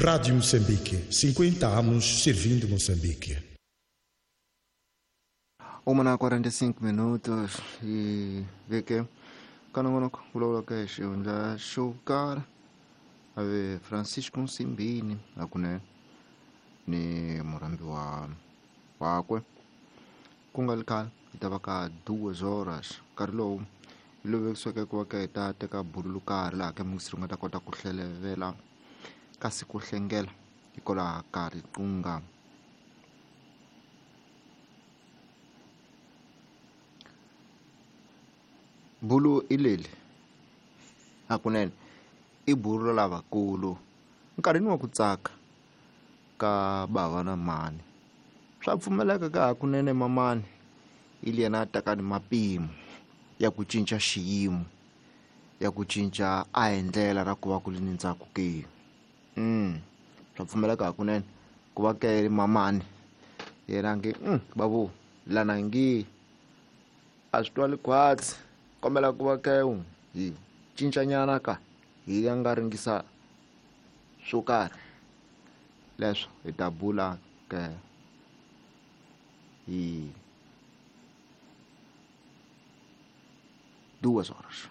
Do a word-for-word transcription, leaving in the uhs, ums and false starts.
Rádio Moçambique, cinquenta anos servindo Moçambique. Uma na quarenta e cinco minutos e vê que kanongonoko vulavula ka xihundla xo karhi ave Francisco Nsimbini hakunene ni murhambi wa wakwe ku nga ri khale hi ta va ka duas horas nkarhi lowu hi lowu vekisiweke ku va ka hi ta teka bulu karhi laha ka muyingiseri u nga ta kota ku hlelevela kasi ku hlengela hikwalaho ka riqingho. Bulu i leli hakunene i bulu ra lavakulu nkarhini wa ku tsaka ka bava na mhani swa pfumeleka ka hakunene mamani i yena a taka ni mapimo ya ku cinca xiyimo ya ku cinca a hi ndlela ra ku va ku ri ni ntsako ke mm swa pfumeleka hakunene ku va ke mamani yena nge mm babu lana ngi a swi twali khwatsi kombela ku va ke hi cincanyana ka hi ya nga ringisa swo karhi leswo hi ta bula ke hi duas horas.